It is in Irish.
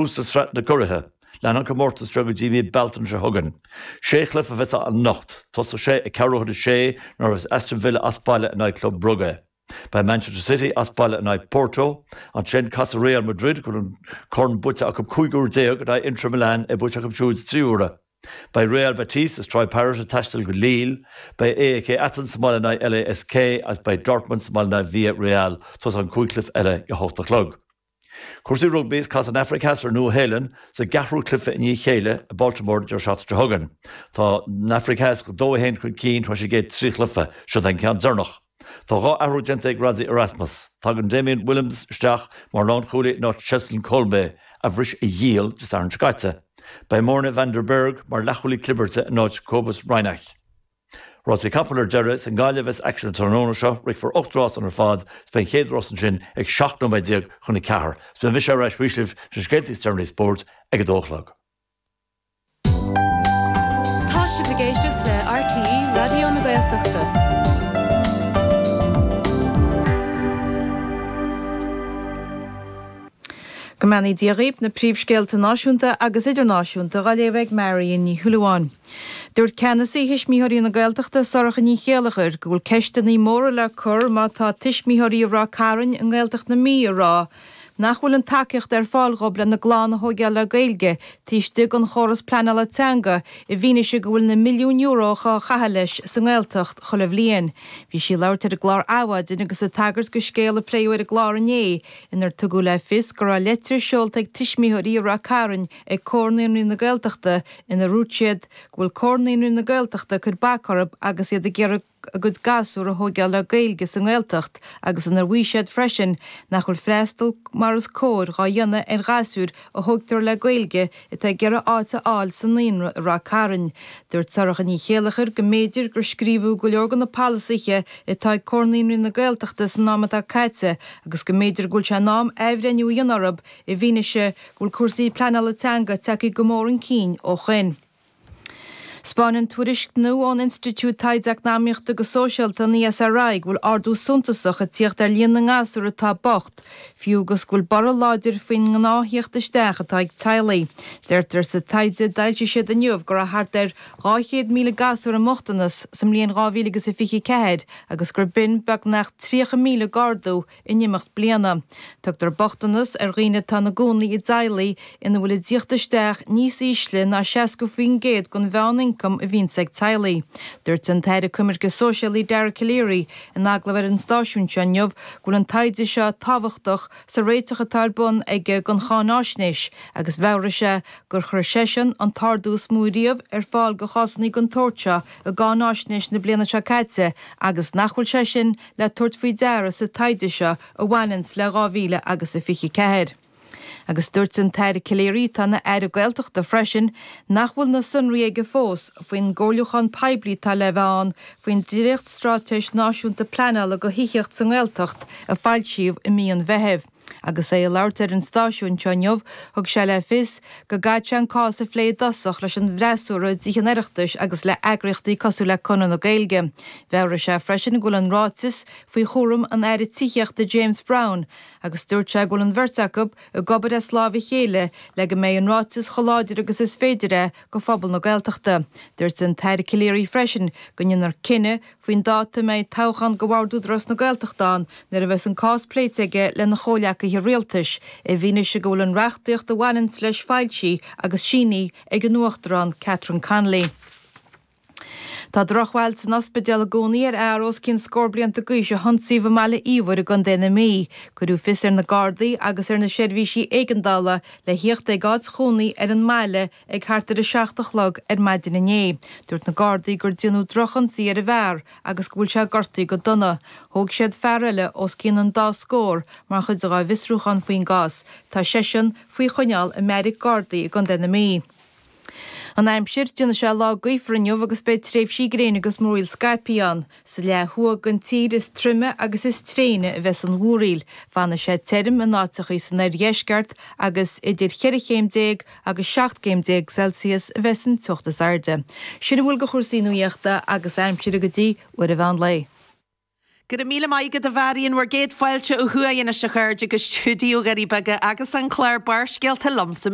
Tús le Sraith na gCuraithe. Leanfaidh an comórtas seo go dtí mí Bealtaine seo chugainn. Sé chluiche a bheas ann anocht. Tosóidh sé ag ceathrú chun a sé nuair a bheas Aston Villa as baile in aghaidh Club Brugge. Beidh Manchester City as baile in aghaidh Porto. Ansin casfaidh Real Madrid, a bhfuil an corn buaite acu 15 uair, in aghaidh Inter Milan, é buaite acu siúd 3 huaire. Beidh Real Betis is Troyes Paris ag taisteal go Lille. Beidh AEK Athens sa mbaile in aghaidh LASK agus beidh Dortmund sa mbaile in aghaidh Villarreal. Tosóidh an cúig chluiche eile ag a hocht a chlog. Cúrsaí rugbaí, is casfaidh an Afraic Theas ar an Nua-Shéalainn sa gceathrú cluiche i ndiaidh a chéile i Baltimore an deireadh seachtaine seo chugainn. Tá an Afraic Theas 2-1 chun cinn tar éis an gcéad 3 chluiche. Seo é an ceann deireanach. Tá dhá athrú déanta ag Rassie Erasmus. Tagann Damian Willemse isteach mar lánchúlaí in áit Cheslin Kolbe, a bhris a ghiall Dé Sathairn seo caite. Beidh Morne van der Berg mar leathchúlaí clibirte in áit Cobus Reinach. Rásaí capall ar deireadh, is i nGaillimh a bheas aicsean an tráthnóna seo. Rithfear 8 rás ann ar fad is beidh an chéad rás ansin ag 17 nóiméad chun 4. Is beidh mise ar ais arís libh leis na scéalta is deireanaí spóirt ag 2 a chlog. Tá sibh ag éisteacht le RTÉ Raidió na Gaeltachta. Go mbeannaí Dia dhaoibh, na príomhscéalta náisiúnta agus idirnáisiúnta á léamh ag Marion Ní Shúilleabháin. Dúirt ceannasaí Thuismitheoirí na Gaeltachta, Sorcha Ní Chéilleachair, go bhfuil ceisteanna móra le cur má tá tuismitheoirí i Ráth Cairn i nGaeltacht na Mí ag rá nach bhfuil an tacaíocht ar fáil dhóibh lena gclann a thóigeáil le Gaeilge taobh istigh den chóras pleanála teanga i bhfianaise go bhfuil na milliúin euro á chaitheamh leis sa nGaeltacht chuile bhliain. Bhí sí ag labhairt ar an gclár Adhmhaidin agus ag tagairt do scéal a pléadh ar an gclár inné inar tugadh le fios go raibh leitir seolta ag tuismitheoirí i Ráth Cairn ag Comhar Naíonraí na Gaeltachta inar dhúirt siad go bhfuil Comhar Naíonraí na Gaeltachta ag cur bac orthu agus iad ag iarraidh a gcuid gasúr a thóigeáil le Gaeilge sa nGaeltacht agus inar mhaígh siad freisin nach bhfuil freastal mar is cóir dhá dhéanamh ar ghasúir a thógtar le Gaeilge atá ag iarraidh áit a fháil sa naíonra i Ráth Cairn. Dúirt Sorcha Ní Chéilleachair go mb'fhéidir gur scríobhadh go leor de na polasaithe atá ag Comhar Naíonraí na Gaeltachta san am atá caite agus go mb'fhéidir go bhfuil sé in am athbhreithniú a dhéanamh orthu i bhfianaise go bhfuil cúrsaí pleanála teanga tagtha go mór chun cinn ó shoin. 'Spáineann tuairisc nua ón Institiúid Taighde Eacnamaíochta agus Sóisialta, an ESRI, go bhfuil ardú suntasach ag tíocht ar líon na ngasúr atá bocht, fiú agus go bhfuil borradh láidir faoin ngnáth-thíocht isteach atá ag teaghlaigh. Deirtear sa taighde a d'fhoilsigh siad inniu go raibh thart ar 200,000 gasúr i mbochtanas sa mbliain 2024 agus gur b'in beagnach 30,000 d'ardú in imeacht bliana. Tugtar bochtanas ar dhaoine atá ina gcónaí i dteaghlaigh ina bhfuil a dtíocht isteach níos ísle ná 60% den mheán-ioncam a bhíonns ag teaghlaigh. Dúirt an tAire Coimirce Sóisialaí Dara Calleary in agallamh ar an stáisiún seo inniu go bhfuil an taighde seo tábhachtach sa réiteach atá ar bun aige don cháináisnéis agus mheabhraigh sé gur chuir seisean an t-ardú is mó riamh ar fáil do chásanna den tsórt seo i gcáináisnéis na bliana seo caite agus nach bhfuil sé sin le tabhairt faoi deara sa taighde seo a bhaineanns le 2000 agus a 24. Agus dúirt an tAire Calleary, atá ina Aire Gaeltachta freisin, nach bhfuil na sonraí aige fós faoin gcomhairliúchán poiblí atá le bheith ann faoin dréacht-Straitéis Náisiúnta Pleanála do Thithíocht sa nGaeltacht a foilsíodh i mí an Mheithimh. Agus é ag labhairt ar an stáisiún seo inniu, thug sé le fios go gcaithfidh sé an cás a phlé i dtosach leis an bhfreasúra i dTithe an Oireachtais agus le heagraíochtaí cosúil le Conradh na Gaeilge. Mheabhraigh sé freisin go bhfuil an ráiteas faoi chúram an Aire Tithíochta James Browne agus dúirt sé go bhfuil an bheirt acu ag obair as láimh a chéile le go mbeidh an ráiteas chomh láidir agus is féidir é do phobal na Gaeltachta. Dúirt an tAire Calleary freisin go ndéanfar cinneadh faoin dáta a mbeidh toghchán do Bhord Údarás na Gaeltachta ann nuair a bheas an cás pléite aige lena chomhleacaithe rialtais, i bhfianaise go bhfuil an reachtaíocht a bhaineanns leis foilsithe agus sínithe ag an Uachtarán Catherine Connolly. Tá drochbhail san ospidéal i gcónaí ar fhear os cionn scór blianta d'aois a hionsaíodh i mBaile Íomhair i gContae na Mí. Cuireadh fios ar na Gardaí agus ar na seirbhísí éigeandála le thíocht ag áit chónaí ar an mbaile Ag thart ar a 7 a chlog ar maidin inné, dúirt na Gardaí gur déanadh drochionsaí ar an bhfear agus go bhfuil sé gortaithe go dona. Thóg siad fear eile os cionn an dá scór mar chuid dá bhfiosrúchán faoin gcás. Tá seisean faoi choinneáil i mbeairic Gardaí i gContae na Mí. An aimsir, Déanfaidh sé lá gaofar inniu agus beidh tréimhsí gréine agus múraíl scaipthe ann. Sa leath thuaidh den tír is troime agus is tréine a bheas an mhúraíl. Fanfaidh sé tirim in áiteachaí san oirdheisceart agus idir cheithre chéim déag agus 17 gcéim Celsius a bheas an teocht is airde. Sin a bhfuil de chúrsaí nuachta agus aimsire go dtí uair an mheán lae. Go raibh míle maith agat a Mharion, bhur gcéad fáilte ó thuaidh anois a chairde go stiúideo Dhoirí Beaga agus an clár Barrscéalta liomsa.